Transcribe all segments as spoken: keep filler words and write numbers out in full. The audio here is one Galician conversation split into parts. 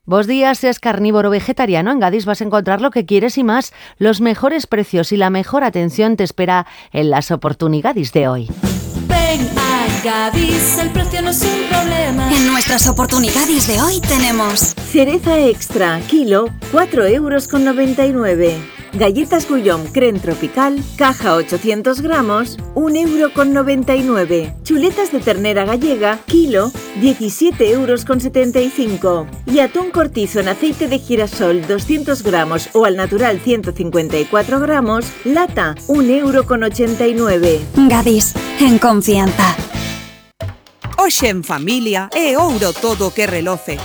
Bos días, seas carnívoro o vegetariano, en Gadis vas a encontrar lo que quieres y más. Los mejores precios y la mejor atención te espera en las oportunidades de hoy. Ven a Gadis, el precio no es un problema. En nuestras oportunidades de hoy tenemos cereza extra, kilo, cuatro euros con noventa y nueve. Galletas Gullón Creme Tropical, caja ochocientos gramos, un euro con noventa y nueve. Chuletas de ternera gallega, kilo, diecisiete euros con setenta y cinco. Y atún cortizo en aceite de girasol, doscientos gramos o al natural ciento cincuenta y cuatro gramos, lata, un euro con ochenta y nueve. Gadis, en confianza. Hoxe en familia é ouro todo que reloce.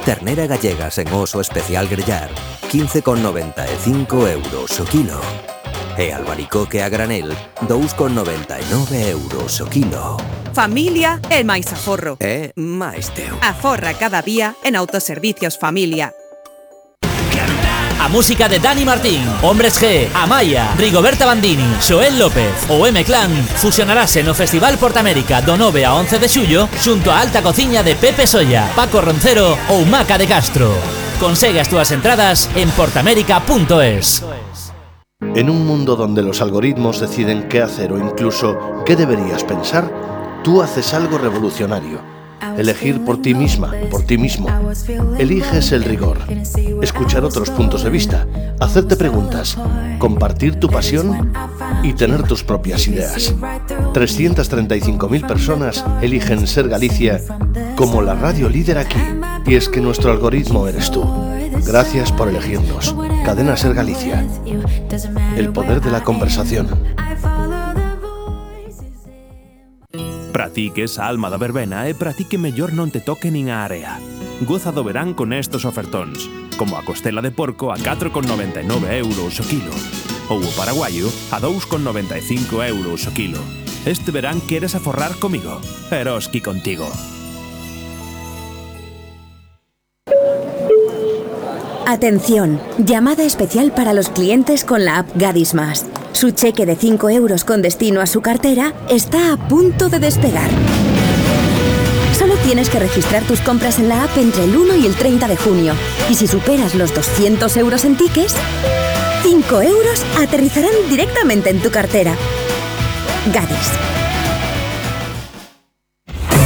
Ternera gallega sen oso especial grellar, quince con noventa e cinco euros o kilo. E albaricoque a granel, dous con noventa e nove euros o kilo. Familia é máis aforro. É máis teu. Aforra cada día en Autoservicios Familia. A música de Dani Martín, Hombres G, Amaya, Rigoberta Bandini, Xoel López ou M-Clan fusionarase no Festival Portamérica do nove a once de xullo xunto a alta cociña de Pepe Solla, Paco Roncero ou Maca de Castro. Consegue as túas entradas en portamérica punto es. En un mundo donde los algoritmos deciden qué hacer o incluso qué deberías pensar, tú haces algo revolucionario. Elegir por ti misma, por ti mismo. Eliges el rigor, escuchar otros puntos de vista, hacerte preguntas, compartir tu pasión y tener tus propias ideas. trescientas treinta y cinco mil personas eligen Ser Galicia como la radio líder aquí. Y es que nuestro algoritmo eres tú. Gracias por elegirnos. Cadena Ser Galicia. El poder de la conversación. Para ti que esa alma da verbena é para ti que mellor non te toque nin a area. Goza do verán con estes ofertóns, como a costela de porco a catro con noventa e nove euros o kilo, ou o paraguaio a dous con noventa e cinco euros o kilo. Este verán queres aforrar comigo? Eroski contigo. Atención, llamada especial para los clientes con la app Gadis Más. Su cheque de cinco euros con destino a su cartera está a punto de despegar. Solo tienes que registrar tus compras en la app entre el uno y el treinta de junio. Y si superas los doscientos euros en tickets, cinco euros aterrizarán directamente en tu cartera. Gadis.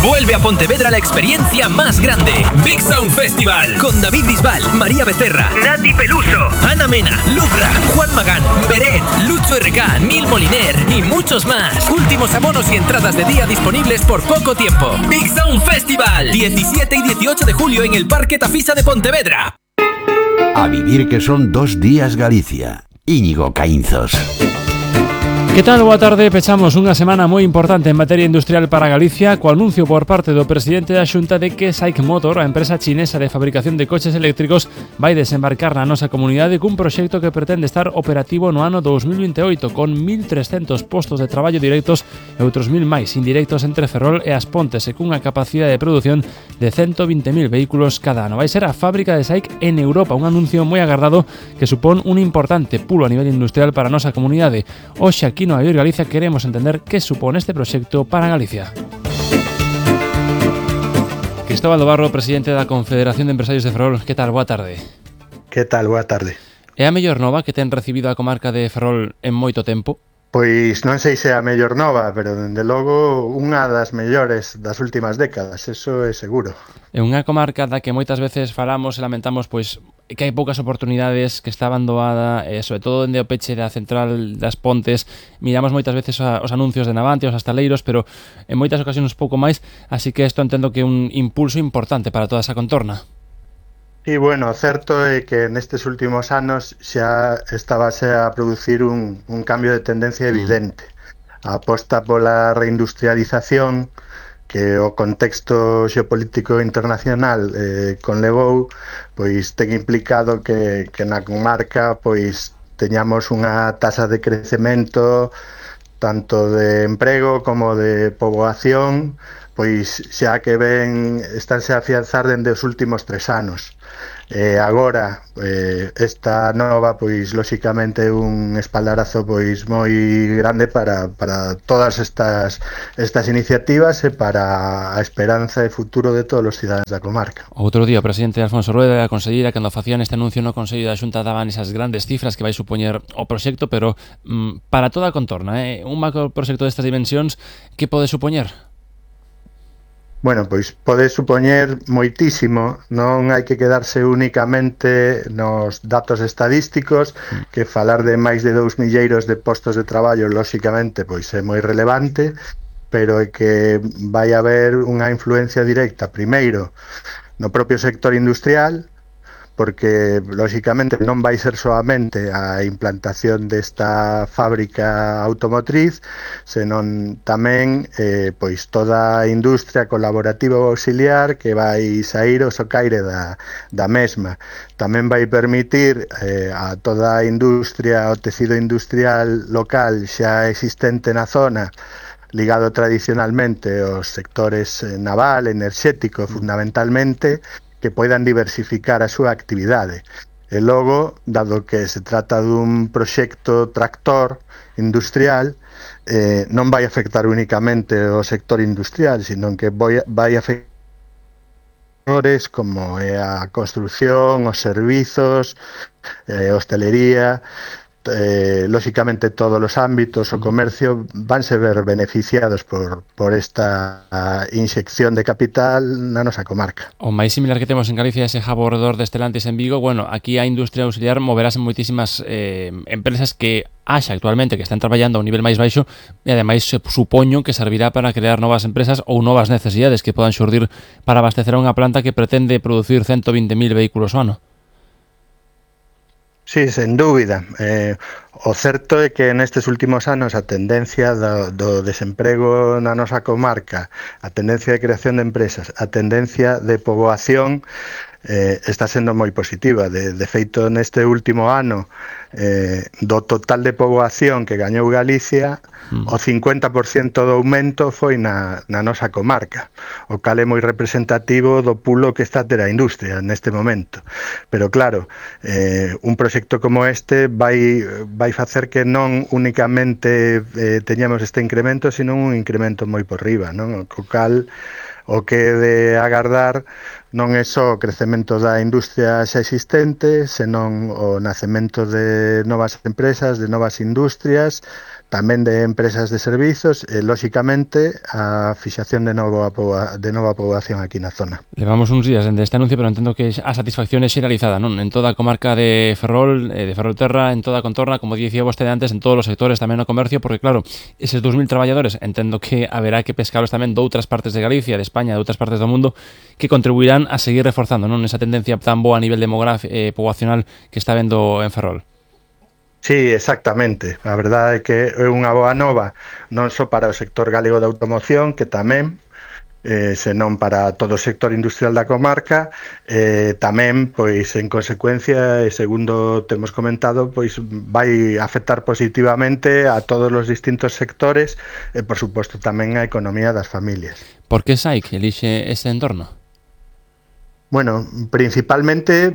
Vuelve a Pontevedra la experiencia más grande. Big Sound Festival. Con David Bisbal, María Becerra, Nati Peluso, Ana Mena, Lucra, Juan Magán, Beret, Lucho R K, Neil Moliner y muchos más. Últimos abonos y entradas de día disponibles por poco tiempo. Big Sound Festival. diecisiete y dieciocho de julio en el Parque Tafisa de Pontevedra. A vivir que son dos días Galicia. Íñigo Caínzos. Que tal? Boa tarde. Pechamos unha semana moi importante en materia industrial para Galicia co anuncio por parte do presidente da Xunta de que SAIC Motor, a empresa chinesa de fabricación de coches eléctricos, vai desembarcar na nosa comunidade cun proxecto que pretende estar operativo no ano dous mil vinte e oito con mil trescentos postos de traballo directos e outros mil máis indirectos entre Ferrol e As Pontes e cunha capacidade de produción de ciento vinte mil vehículos cada ano. Vai ser a fábrica de SAIC en Europa, un anuncio moi agardado que supón un importante pulo a nivel industrial para a nosa comunidade. Hoxe aquí no Avior Galicia queremos entender que supón este proxecto para Galicia. Cristóbal do Barro, presidente da Confederación de Empresarios de Ferrol, que tal? Boa tarde. Que tal? Boa tarde. É a mellor nova que ten recibido a comarca de Ferrol en moito tempo? Pois non sei se é a mellor nova, pero dende logo unha das mellores das últimas décadas, eso é seguro. É unha comarca da que moitas veces falamos e lamentamos pois que hai poucas oportunidades, que está abandonada, e sobre todo dende o peche da central das Pontes, miramos moitas veces os anuncios de Navantia, os astaleiros, pero en moitas ocasións pouco máis, así que isto entendo que é un impulso importante para toda esa contorna. E, bueno, certo é que nestes últimos anos xa estábase a producir un, un cambio de tendencia evidente. A aposta pola reindustrialización que o contexto xeopolítico internacional eh, conlevou, pois ten implicado que, que na comarca pois teñamos unha taxa de crecemento tanto de emprego como de poboación pois xa que ven estánse a afianzar dende os últimos tres anos. Eh, agora, eh, esta nova, pois, lóxicamente, un espaldarazo pois moi grande para, para todas estas, estas iniciativas e para a esperanza e futuro de todos os cidadáns da comarca. Outro día o presidente Alfonso Rueda e a conselleira, cando facían este anuncio no Consello da Xunta, daban esas grandes cifras que vai supoñer o proxecto, pero mm, para toda a contorna, eh? un macro proxecto destas dimensións, que pode supoñer? Bueno, pois pode supoñer moitísimo, non hai que quedarse únicamente nos datos estadísticos, que falar de máis de dous milleiros de postos de traballo, lóxicamente, pois é moi relevante, pero é que vai haber unha influencia directa, primeiro, no propio sector industrial, porque, lóxicamente, non vai ser solamente a implantación desta fábrica automotriz, senón tamén eh, pois toda a industria colaborativa ou auxiliar que vai sair o socaire da, da mesma. Tamén vai permitir eh, a toda a industria, o tecido industrial local xa existente na zona, ligado tradicionalmente aos sectores naval, enerxético, fundamentalmente, que poidan diversificar a súa actividade. E logo, dado que se trata dun proxecto tractor industrial, eh, non vai afectar únicamente o sector industrial, sino que vai, vai afectar sectores como é a construción, os servizos, eh, hostelería, Eh, lóxicamente todos os ámbitos, o comercio vanse ver beneficiados por, por esta inxección de capital na nosa comarca. O máis similar que temos en Galicia é ese hub alrededor de Stellantis en Vigo. Bueno, aquí a industria auxiliar moverase moitísimas eh, empresas que haxa actualmente que están traballando a un nivel máis baixo e ademais supoño que servirá para crear novas empresas ou novas necesidades que podan xurdir para abastecer a unha planta que pretende producir ciento vinte mil vehículos ao ano. Sí, sen dúbida. Eh, o certo é que nestes últimos anos a tendencia do, do desemprego na nosa comarca, a tendencia de creación de empresas, a tendencia de poboación eh, está sendo moi positiva. De, de feito, neste último ano, eh, do total de poboación que gañou Galicia, mm. o cincuenta por ciento do aumento foi na, na nosa comarca, o cal é moi representativo do pulo que está a ter a industria neste momento. Pero claro, eh, un proxecto como este vai, vai facer que non únicamente eh, teñamos este incremento, sino un incremento moi por riba, non? O cal o que de agardar non é só o crecemento da industria xa existente, senón o nacemento de novas empresas, de novas industrias, tamén de empresas de servizos e, lóxicamente, a fixación de, novo, de nova poboación aquí na zona. Levamos uns días dende este anuncio, pero entendo que a satisfacción é xeralizada, non? En toda a comarca de Ferrol, de Ferrolterra, en toda a contorna, como dicía vostede antes, en todos os sectores, tamén no comercio, porque, claro, eses dous mil traballadores, entendo que haberá que pescalos tamén de outras partes de Galicia, de España, de outras partes do mundo, que contribuirán a seguir reforzando, non? Esa tendencia tan boa a nivel demográfico, eh, poboacional que está vendo en Ferrol. Sí, exactamente. A verdade é que é unha boa nova non só para o sector galego da automoción, que tamén, eh, senón para todo o sector industrial da comarca, eh, tamén, pois, en consecuencia, e segundo temos comentado, pois vai afectar positivamente a todos os distintos sectores e, por suposto, tamén a economía das familias. Por que S A I C elixe ese entorno? Bueno, principalmente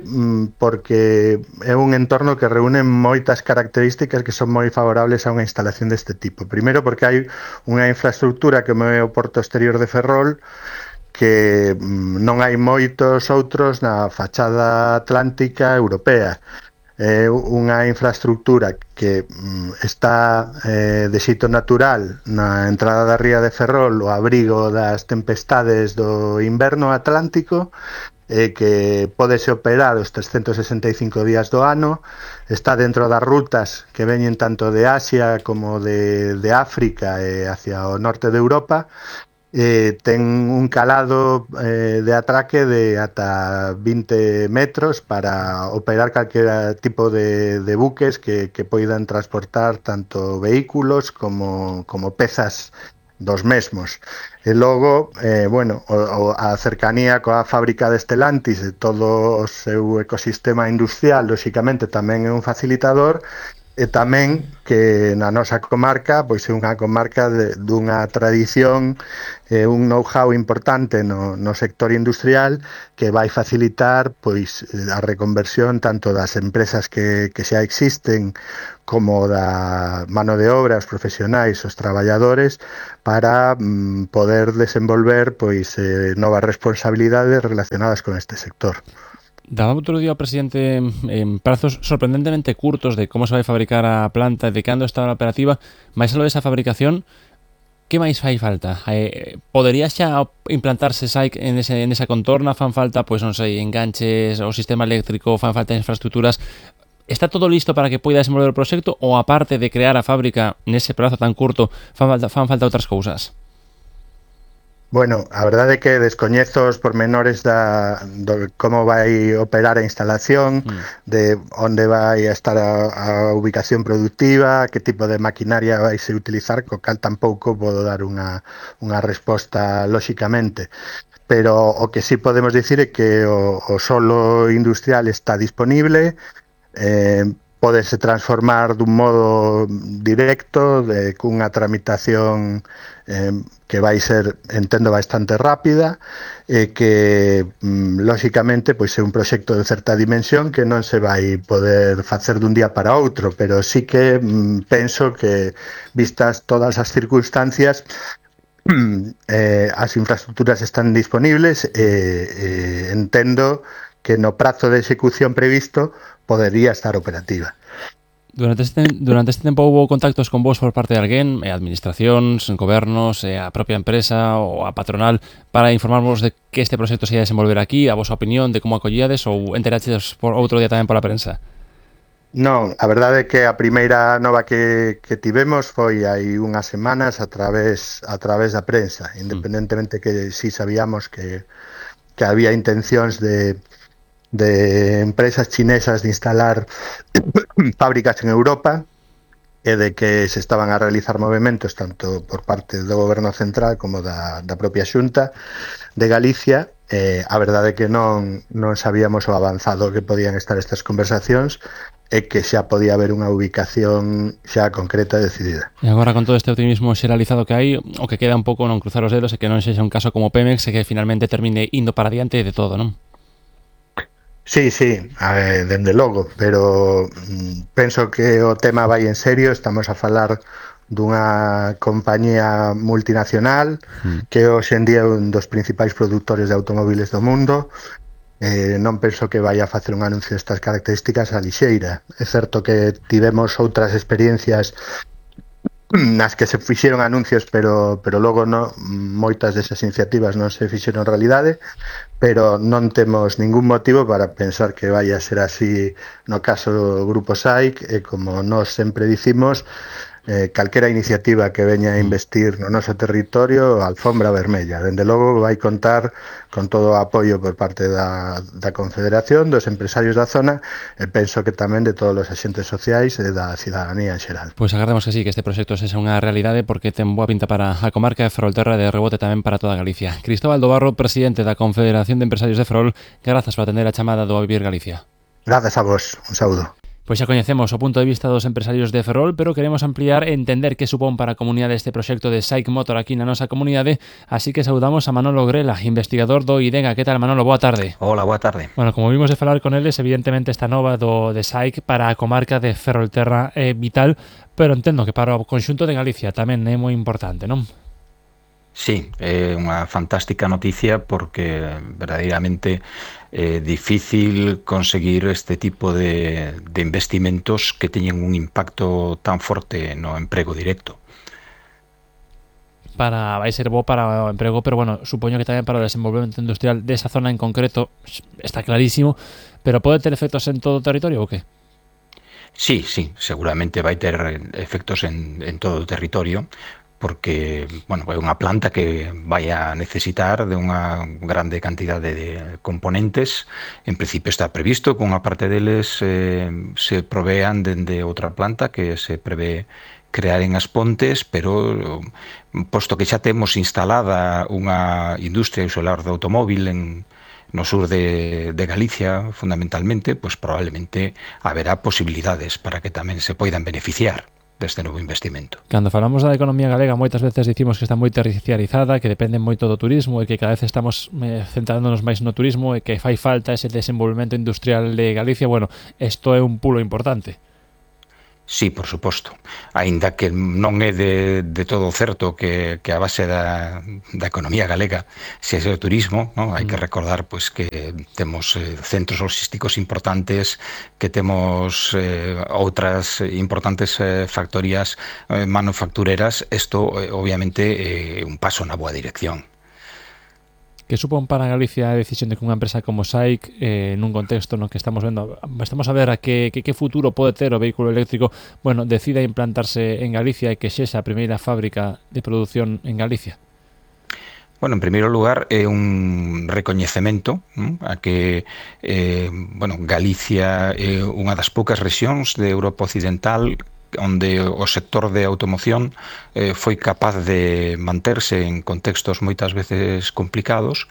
porque é un entorno que reúne moitas características que son moi favorables a unha instalación deste tipo. Primeiro porque hai unha infraestructura que é o porto exterior de Ferrol, que non hai moitos outros na fachada atlántica europea. É unha infraestructura que está eh, de xeito natural na entrada da ría de Ferrol, o abrigo das tempestades do inverno atlántico, eh, que pódese operar os trescentos sesenta e cinco días do ano, está dentro das rutas que veñen tanto de Asia como de, de África e hacia o norte de Europa, eh, ten un calado eh, de atraque de ata vinte metros para operar calquera tipo de, de buques que, que poidan transportar tanto vehículos como, como pezas dos mesmos. E logo, eh, bueno, o, o, a cercanía coa fábrica de Stellantis e todo o seu ecosistema industrial, lóxicamente, tamén é un facilitador, e tamén que na nosa comarca pois é unha comarca de, dunha tradición e un know-how importante no, no sector industrial que vai facilitar pois a reconversión tanto das empresas que, que xa existen como da mano de obra, os profesionais, os traballadores para mm, poder desenvolver pois eh, novas responsabilidades relacionadas con este sector. Daba outro día o presidente en prazos sorprendentemente curtos de como se vai fabricar a planta e de cando está a operativa, máis algo desa fabricación, que máis fai falta? Eh, podería xa implantarse S A I C en, ese, en esa contorna? Fan falta, pois non sei, enganches, o sistema eléctrico, fan falta infraestructuras? Está todo listo para que poida desenvolver o proxecto ou aparte de crear a fábrica nese prazo tan curto, fan falta, fan falta outras cousas? Bueno, a verdade é que descoñezo os pormenores da, do como vai operar a instalación, mm. de onde vai estar a, a ubicación productiva, que tipo de maquinaria vai se utilizar, co cal tampouco podo dar unha, unha resposta lóxicamente. Pero o que sí podemos dicir é que o, o solo industrial está disponible, eh, pódese transformar dun modo directo, de, cunha tramitación eh, que vai ser, entendo, bastante rápida e que, mm, lóxicamente, pois é un proxecto de certa dimensión que non se vai poder facer dun día para outro, pero sí que mm, penso que, vistas todas as circunstancias, eh, as infraestructuras están disponibles e eh, entendo que no prazo de execución previsto podería estar operativa. Durante este, durante este tempo houve contactos con vos por parte de alguén, eh, administracións, gobernos, eh, a propia empresa ou a patronal, para informarvos de que este proxecto se ia desenvolver aquí, a vosa opinión, de como acollíades, ou enteraches por outro día tamén pola prensa? Non, a verdade é que a primeira nova que, que tivemos foi hai unhas semanas a través a través da prensa, independentemente que si sabíamos que, que había intencións de de empresas chinesas de instalar fábricas en Europa e de que se estaban a realizar movimentos tanto por parte do Goberno Central como da, da propia Xunta de Galicia. Eh, a verdade é que non, non sabíamos o avanzado que podían estar estas conversacións e que xa podía haber unha ubicación xa concreta e decidida. E agora, con todo este optimismo xeralizado que hai, o que queda un pouco non cruzar os dedos e que non sexa un caso como Pemex e que finalmente termine indo para diante de todo, non? Sí, sí, a ver, dende logo, pero mm, penso que o tema vai en serio, estamos a falar dunha compañía multinacional mm. que hoxe en día é un dos principais produtores de automóviles do mundo. Eh, non penso que vai a facer un anuncio destas características a lixeira. É certo que tivemos outras experiencias nas que se fixeron anuncios, pero pero logo no, moitas desas iniciativas non se fixeron realidade, pero non temos ningún motivo para pensar que vai a ser así no caso do Grupo S A I C, e como nós sempre dicimos, eh, calquera iniciativa que veña a investir no noso territorio, alfombra vermella. Dende logo vai contar con todo o apoio por parte da, da Confederación, dos empresarios da zona, e penso que tamén de todos os axentes sociais e da cidadanía en xeral. Pois agardemos que sí, que este proxecto sexa unha realidade, porque ten boa pinta para a comarca de Ferrolterra e de rebote tamén para toda Galicia. Cristóbal do Barro, presidente da Confederación de Empresarios de Ferrol, grazas por atender a chamada do A Vivir Galicia. Grazas a vos, un saúdo. Pois xa coñecemos o punto de vista dos empresarios de Ferrol, pero queremos ampliar e entender que supón para a comunidade este proxecto de S A I C Motor aquí na nosa comunidade, así que saudamos a Manolo Grela, investigador do IDEGA. Que tal, Manolo? Boa tarde. Hola, boa tarde. Bueno, como vimos de falar con eles, evidentemente esta nova do de S A I C para a comarca de Ferrolterra é vital, pero entendo que para o conxunto de Galicia tamén é moi importante, non? Sí, é unha fantástica noticia porque verdadeiramente é difícil conseguir este tipo de, de investimentos que teñen un impacto tan forte no emprego directo. Para, vai ser bo para o emprego, pero bueno, supoño que tamén para o desenvolvemento industrial desa zona en concreto está clarísimo, pero pode ter efectos en todo o territorio ou que? Sí, sí, seguramente vai ter efectos en, en todo o territorio, porque, bueno, é unha planta que vai a necesitar de unha grande cantidade de componentes. En principio está previsto que unha parte deles eh, se provean dende outra planta que se prevé crear en As Pontes, pero posto que xa temos instalada unha industria isolar do automóvil en, no sur de, de Galicia, fundamentalmente, pues probablemente haberá posibilidades para que tamén se poidan beneficiar deste novo investimento. Cando falamos da economía galega, moitas veces dicimos que está moi terciarizada, que depende moito do turismo e que cada vez estamos eh, centrándonos máis no turismo e que fai falta ese desenvolvemento industrial de Galicia. Bueno, isto é un pulo importante. Sí, por suposto. Aínda que non é de, de todo certo que, que a base da, da economía galega se é o turismo, non? Hai que recordar pois, que temos eh, centros logísticos importantes, que temos eh, outras importantes eh, factorías eh, manufactureras. Isto, eh, obviamente, é eh, un paso na boa dirección. Que supón para Galicia a decisión de que unha empresa como SAIC, eh, nun contexto no que estamos vendo, estamos a ver a que, que, que futuro pode ter o vehículo eléctrico, bueno, decida implantarse en Galicia e que sexa a primeira fábrica de produción en Galicia? Bueno, en primeiro lugar, é un recoñecemento ¿no? a que eh, bueno, Galicia é unha das poucas rexións de Europa Occidental onde o sector de automoción eh, foi capaz de manterse en contextos moitas veces complicados.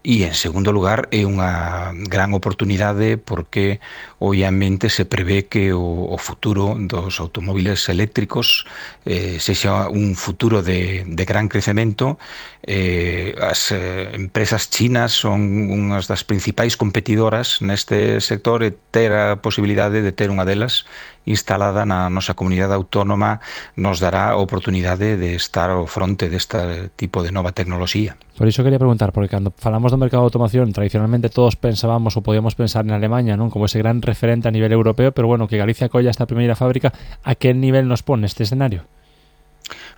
E, en segundo lugar, é unha gran oportunidade porque, obviamente, se prevé que o, o futuro dos automóviles eléctricos eh, sexa un futuro de, de gran crecemento. Eh, as eh, empresas chinas son unhas das principais competidoras neste sector e ter a posibilidade de ter unha delas instalada na nosa comunidade autónoma nos dará a oportunidade de estar ao fronte deste tipo de nova tecnoloxía. Por iso quería preguntar, porque cando falamos do mercado de automoción, tradicionalmente todos pensábamos ou podíamos pensar en Alemanha, non, como ese gran referente a nivel europeo, pero bueno, que Galicia colla esta primeira fábrica, a que nivel nos pone este escenario?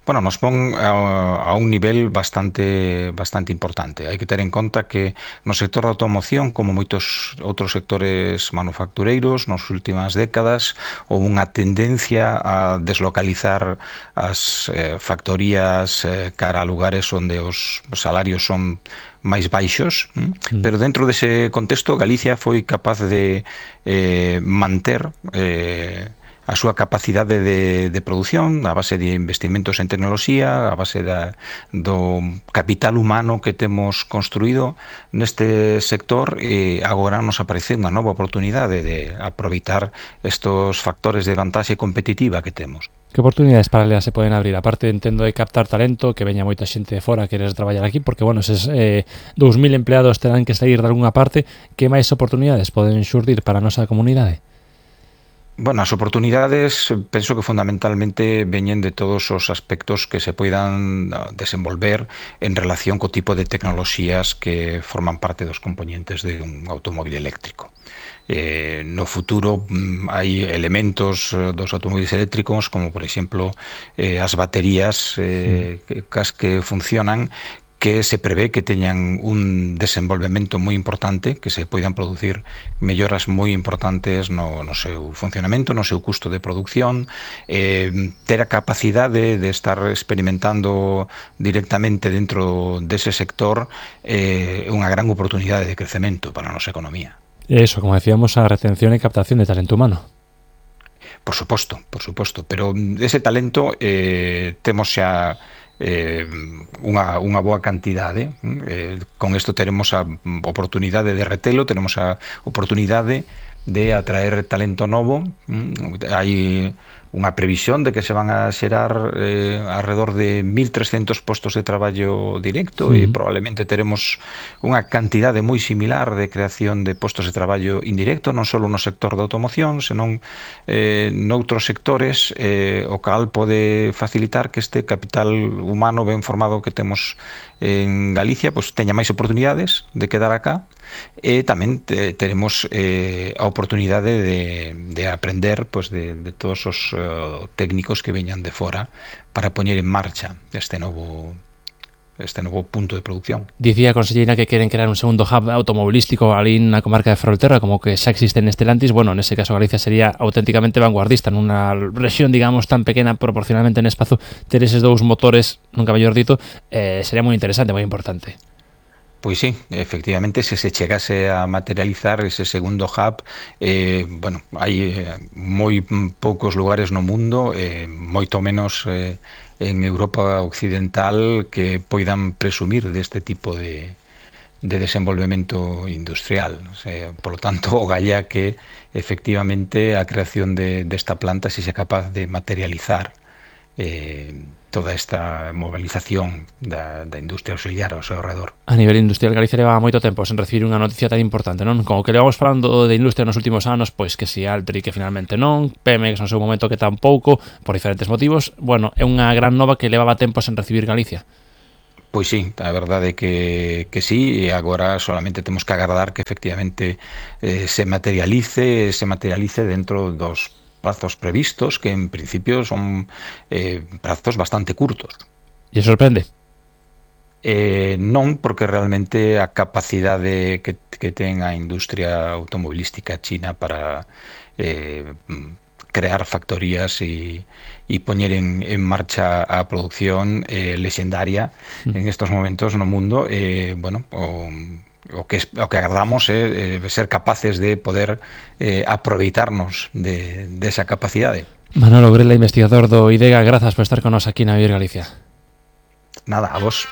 Bueno, nos pon a, a un nivel bastante bastante importante. Hai que ter en conta que no sector da automoción, como moitos outros sectores manufactureiros, nas últimas décadas houve unha tendencia a deslocalizar as eh, factorías eh, cara a lugares onde os salarios son máis baixos, mm. pero dentro dese contexto Galicia foi capaz de eh, manter eh, a súa capacidade de, de produción a base de investimentos en tecnoloxía, a base da, do capital humano que temos construído neste sector, e agora nos aparece unha nova oportunidade de aproveitar estos factores de vantaxe competitiva que temos. Que oportunidades paralelas se poden abrir? Aparte, entendo, de captar talento, que veña moita xente de fora a querer traballar aquí, porque, bueno, eses eh, dous mil empleados terán que sair de algunha parte. Que máis oportunidades poden xurdir para a nosa comunidade? Bueno, as oportunidades penso que fundamentalmente veñen de todos os aspectos que se poidan desenvolver en relación co tipo de tecnoloxías que forman parte dos componentes de un automóvil eléctrico. Eh, no futuro hai elementos dos automóviles eléctricos como, por exemplo, eh, as baterías eh, que, que funcionan, que se prevé que teñan un desenvolvemento moi importante, que se poidan producir melloras moi importantes no, no seu funcionamento, no seu custo de producción, eh, ter a capacidade de estar experimentando directamente dentro dese sector é eh, unha gran oportunidade de crecemento para a nosa economía. Eso, como decíamos, a retención e captación de talento humano. Por suposto, por suposto, pero ese talento eh, temos xa Eh, unha, unha boa cantidade. Eh, con isto teremos a oportunidade de retelo, tenemos a oportunidade de atraer talento novo. Hai unha previsión de que se van a xerar eh, alrededor de mil trescentos postos de traballo directo, uh-huh. e probablemente teremos unha cantidade moi similar de creación de postos de traballo indirecto, non só no sector da automoción, senón eh, noutros sectores, eh, o cal pode facilitar que este capital humano ben formado que temos en Galicia pues, teña máis oportunidades de quedar acá, e tamén te, teremos eh, a oportunidade de, de aprender pues, de, de todos os uh, técnicos que veñan de fora para poñer en marcha este novo este novo punto de producción. Dicía a conselleira que queren crear un segundo hub automobilístico ali na comarca de Ferrolterra, como que xa existe en Stellantis. Bueno, nese caso Galicia sería auténticamente vanguardista nunha rexión, digamos, tan pequena proporcionalmente en espazo. Ter eses dous motores, nunca mellor dito, eh, sería moi interesante, moi importante. Pois sí, efectivamente, se se chegase a materializar ese segundo hub, eh, bueno, hai eh, moi poucos lugares no mundo, eh, moito menos eh, en Europa Occidental, que poidan presumir deste tipo de, de desenvolvemento industrial. O sea, por lo tanto, o galla que efectivamente a creación de, desta planta si sea capaz de materializar eh, toda esta movilización da, da industria auxiliar ao seu redor. A nivel industrial, Galicia leva moito tempo sen recibir unha noticia tan importante, non? Como que levamos falando de industria nos últimos anos, pois que si Altri que finalmente non, Pemex no seu momento que tampouco, por diferentes motivos. Bueno, é unha gran nova que levaba tempo sen recibir Galicia. Pois sí, a verdade é que, que sí, e agora solamente temos que agardar que efectivamente eh, se materialice, se materialice dentro dos prazos previstos, que en principio son eh, prazos bastante curtos. E sorprende? Eh, non, porque realmente a capacidade que, que ten a industria automobilística china para eh, crear factorías e, e poñer en, en marcha a producción eh, lexendaria mm. en estos momentos no mundo, eh, bueno, o... O que, o que agardamos é eh, ser capaces de poder eh, aproveitarnos de, de esa capacidade. Manolo Grela, investigador do IDEGA, grazas por estar con nos aquí na Vivir Galicia. Nada, a vos.